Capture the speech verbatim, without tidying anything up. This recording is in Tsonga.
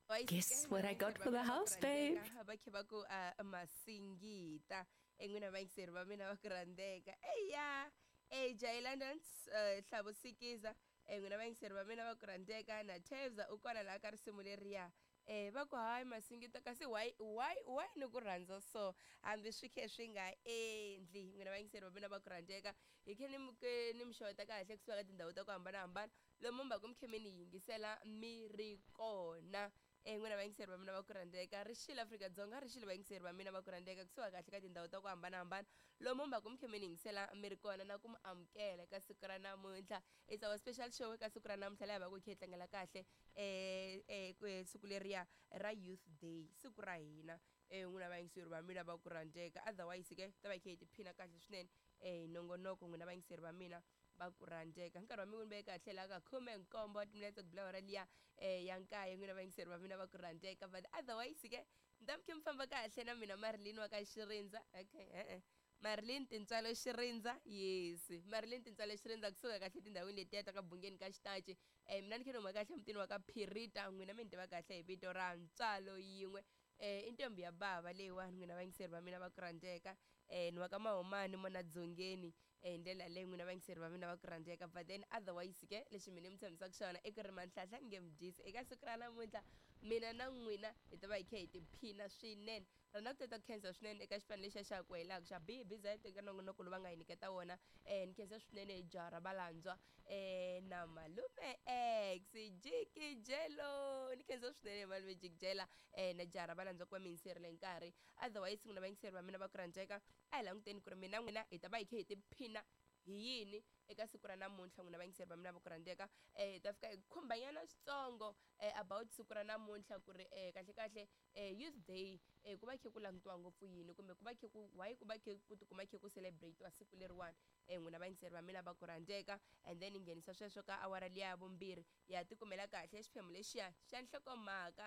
Guess what I got for the house, babe? Va khe va ku uh, masingita en'wina vayingiseri va mina va ku rhandzeka eya AJ Londons uh, Hlavo Sikiza en'wina vayingiseri va mina va ku rhandzeka na Tevza u kona laha ka risimu leriya eh va ku hayi masingita kasi why why why ni ku rhandza so hambi swi khe swi nga endli n'wina vayingiseri va mina va ku rhandzeka hi khe ni mi ke ni mi xeweta kahle kusuka ka tindhawu ta ku hambanahambana lomu mi va ku mi khe mi ni yingisela mi ri kona eh n'wina vayingiseri va mina va ku rhandzeka ri xile Afrika-Dzonga ri xile vayingiseri va mina va ku rhandzeka kusuka kahle ka tindhawu ta ku hambanahambana lomu mi va ku mi khe mi ni yingisela mi ri kona na ku mi amukela eka siku ra namuntlha it's our special show eka siku ra namuntlha laha hi va ku hi khe hi tlangela kahle eh eh ku- siku leriya ra youth day siku ra hina eh n'wina vayingiseri va mina va ku rhandzeka otherwise ke ta va hi khe hi tiphina kahle swinene eh hi nongonoko n'wina vayingiseri va mina va ku rhandzeka nkarhi wa mi wu veke kahle laha ka khume nkombo wa timinetse ku bula hora liya eh ya nkaye n'wina vayingiseri va mina va ku rhandzeka but otherwise ke ni ta mi khe mi famba kahle na mina Marilyn wa ka Xirindza okay e-e Marilyn Tintswalo Xirindza yes Marilyn Tintswalo Xirindza kusuka kahle tindhawini letiya ta ka Bungeni ka Xitachi eh mina ni khe ni huma kahle emutini wa ka Phirita n'wina mi ni tiva kahle hi vito ra Ntswalo yin'we eh i ntombi ya bava leyiwani n'wina vayingiseri va mina va ku rhandzeka eh ni wa ka Mahumani mona Dzongeni eh hi ndlela leyi n'wina vayingiseri va mina va ku rhandzeka but then otherwise ke lexi mina mi tshembisaka xona i ku ri manhlahla ni nge mi dyisi eka siku ra namuntlha mina na n'wina hi ta va hi khe hi tiphina swinene rona ku tata ku khensa swinene eka xipano lexiya xa ku helaka xa B B Z eka nongonoko lowu va nga hi nyiketa wona eh ni khensa swinene jaha ra valandzwa eh na malume X Jikijelo ni khensa swinene malume Jikijela eh na jaha ra valandzwa ku va mi yingiserile nkarhi otherwise n'wina vayingiseri va mina va ku rhandzeka a hi languteni ku ri mina n'wina hi ta va hi khe hi tiphina hi yini eka siku ra namuntlha n'wina vayingiseri va mina va ku rhandzeka eh hi ta fika hi khumbanyana switsongo eh, about siku ra namuntlha ku ri eh, kahle kahle eh, youth day eh, ku va khe ku langutiwa ngopfu yini kumbe ku va khe ku why ku va khe ku tikuma khe ku celebrate-iwa siku leriwani eh, n'wina vayingiseri va mina va ku rhandzeka and then hi nghenisa sweswo ka awara liya ya vumbirhi ya tikumela kahle xiphemu lexiya xa nhlokomhaka.